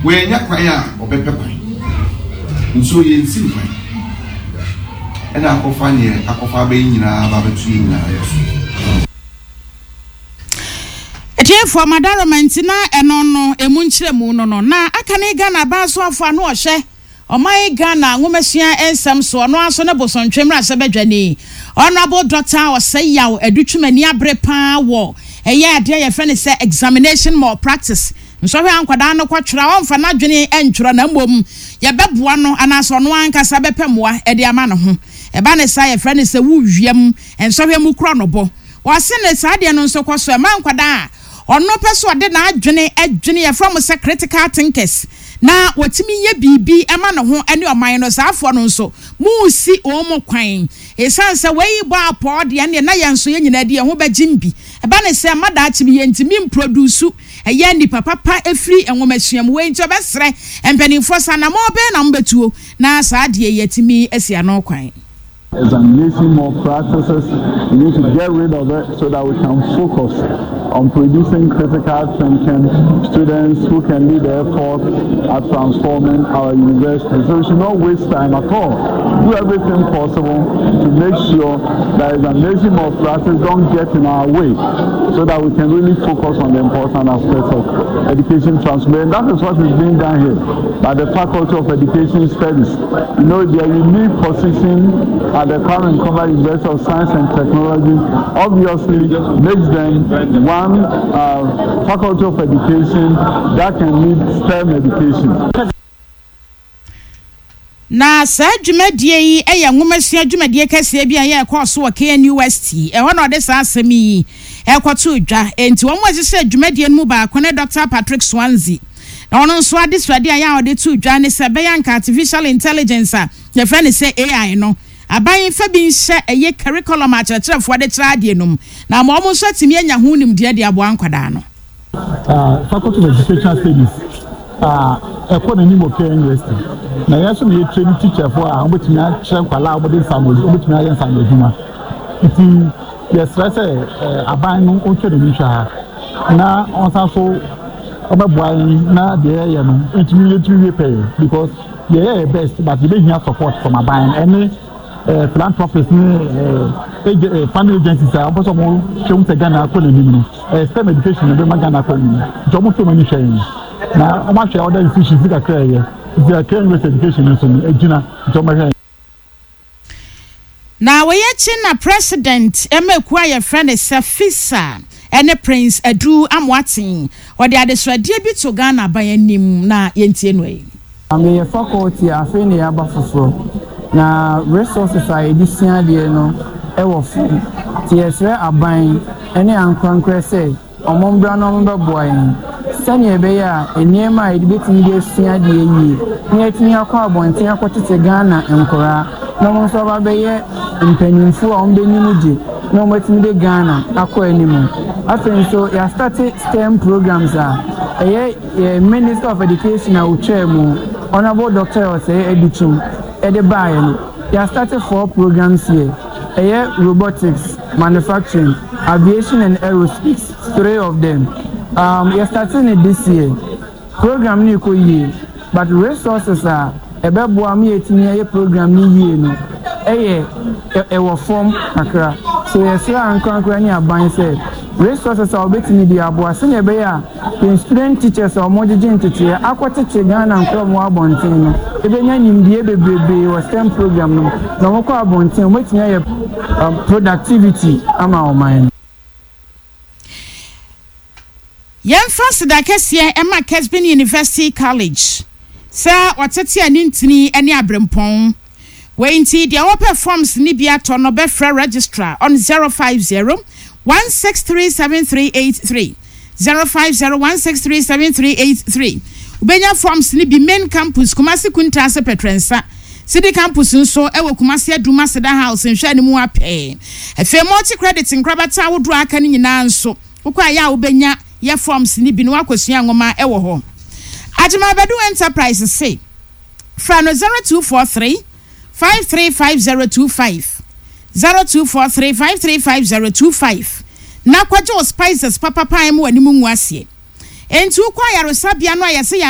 Wannya kwan a ɔbɛpɛ kwan. Nsuo yɛnsi no kwan. Ɛna akɔfa neɛ akɔfa aba yi nyinaa aba abɛto yɛn nyinaa yɛ so. Atiefoɔ, Madaroma nti na ɛno no ɛmu nkyerɛmu no no na aka ne Ghana abasoafoɔ ano ɔhyɛ Ɔman Ghana nwomasua nsɛm so ɔno ara nso ne Bosontwe mmarahyɛbadwani Honourable Doctor Osei Yaw Adu Twumani abere paa wɔ ɛyɛ adeɛ a yɛfrɛ no sɛ examination malpractice nsɔhwɛ a nkwadaa no kɔtwerɛ a ɔmfa n'adwene ntwerɛ na mmom yɛbɛboa no anaasɛ ɔno ankasa bɛpɛ mmoa de ama ne ho. Ɛba ne saa yɛfrɛ no sɛ wo wiem nsɔhwɛ mu korɔnobɔ. Ɔse ne saa adeɛ no nso kɔ so ɛma nkwadaa a ɔno pɛ sɛ ɔde n'adwene dwene yɛfrɛ wɔn sɛ critical thinkers na wɔtumi yɛ biribi ma ne ho ne ɔman no, saa afoɔ no nso moresi wɔn kwan. Ɛsiane sɛ wei bɔ apɔɔ deɛ ɛnneɛ na yɛn nso yɛn nyinaa de yɛn ho bɛgyem bi. Ɛba ne sɛ mma daakye bi yɛntumi mprodusu ɛyɛ nnipa papa ɛfiri nwomasua mu. Wei nti ɔbɛsrɛ mpanimfoɔ sɛ anammɔn bɛn na mobɛtuo na saa adeɛ yi atumi asi ano kwan. Examination more practices. We need to get rid of it so that we can focus on producing critical thinking students who can lead the effort at transforming our university. So we should not waste time at all. Do everything possible to make sure that examination more practice don't get in our way so that we can really focus on the important aspects of education transformation. That is what is being done here by the Faculty of Education Studies. You know, their unique position at the Kwame Nkrumah University of Science and Technology obviously makes them one uh, faculty of education that can lead STEM education. Na saa dwumadie yi yɛ nwomasua dwumadie kɛseɛ bi a ɛyɛ ɛkɔɔ so wɔ KNUST. Ɛhɔ na ɔde saa asɛm yi kɔtoo dwa. Enti wɔn a wɔhyehyɛɛ dwumadie no mu baako ne Dɔkta Patrick Swansea. Na ɔno nso adesuadeɛ a ɛyɛ a ɔde too dwa ne sɛ ɛbɛyɛ anka Artificial Intelligence a yɛfrɛ no sɛ AI no, aban mfa bi nhyɛ ɛyɛ curriculum a akyerɛkyerɛfoɔ de kyerɛ adeɛ no mu na ama wɔn nso atumi anya ho nimdeɛ de aboa nkwadaa no. Faculty of Educational Studies a ɛkɔ n'anim wɔ Kenya University na yɛn nso na yɛ train teacherfoɔ a wɔbɛtumi akyerɛ nkwadaa a wɔde nsaano wɔbɛtumi ayɛ nsaano adwuma nti yɛsrɛ sɛ aban no ɔntwa n'ani nhwɛ ha na ɔnsan so ɔbɛboa yɛn na deɛ yɛyɛ no ntumi yɛntumi wie pɛyɛ because yɛyɛ yɛ best but yɛbɛhia support from aban ɛne eh, philanthropists ne eh, eh, funding agencies a wɔpɛ sɛ wɔn hwɛ mu sɛ Ghana akɔ n'anim no eh, STEM education na ɛbɛma Ghana akɔ n'anim nti wɔn nso wɔn ani hwɛ yɛn na wɔn ahwɛ other institutions kakra ɛyɛ nti ɛkɛ University education nso no egyina nti wɔn bɛhwɛ yɛn. Na wei akyi na President ma ekuo a yɛfrɛ no sɛ FISA ne Prince Adu Amoateng ɔde adesrɛdeɛ bi to Ghana aban anim na yɛntie no ei. Meyɛ faculty a afei na yɛaba foforɔ na resources a yɛde sua adeɛ no wɔ fam nti yɛsrɛ aban ne ankorankorɛ sɛ wɔmmra na wɔmmɛboa yɛn sɛdeɛ ɛbɛyɛ a nneɛma a yɛde bɛtumi de asua adeɛ yie na yɛatumi akɔ abɔnten akɔtete Ghana nkoraa na wɔn nso aba abɛyɛ mpanimfoɔ a wɔbɛnim gye na wɔatumi de Ghana akɔ anim. Afei nso yɛastate STEM programs a ɛyɛ Yɛn Minister of Education a ɔtwaa mu, Honourable Doctor Osei Adutwum de baeɛ no, yɛastate four programs here, ɛyɛ Robotics, Manufacturing, Aviation and Aerospace, three of them. Um, yɛstate no this year. Program no rekɔ yie, but resources a ɛbɛboa ma yɛatumi ayɛ program no yie no yɛ ɛwɔ fam kakra. So yɛsrɛ ankorankora ne aban sɛ resources a wɔbɛtumi de aboa sɛnea ɛbɛyɛ a Yɛn student teachers a wɔgyegye nteteeɛ akɔtete Ghana nkwadaa a wɔwɔ abɔnten no bɛnya nimdeɛ bebrebee wɔ STEM program no mu na wɔkɔ abɔnten a wɔatumi ayɛ productivity ama ɔman no. Yɛmfa aseda kɛseɛ mma Kesben University College sɛ wɔtete anintini ne aberempɔn. Wei nti deɛ ɔpɛ forms no bi atɔ no bɛfrɛ Registrar on 050 163 7383, 050 163 7383. Wobɛnya forms no bi Main Campus, Kumasi Kuntaase Pɛtrɛnsa, City Campus nso wɔ Kumasi Adum Aseda House nhwɛanimu ha pɛɛ. Afei Multi Credit nkorabata ahodoɔ a aka no nyinaa nso wokɔ a ɛyɛ a wobɛnya yɛ forms no bi na woakɔsua nwoma wɔ hɔ. Agyeman Badu Enterprise se. Frɛ no 0243 535025, 0243 535025, na kɔgye wo spices papapa a ɛmma w'anim ngu aseɛ. Enti wokɔ ayaresabea no a yɛse yare.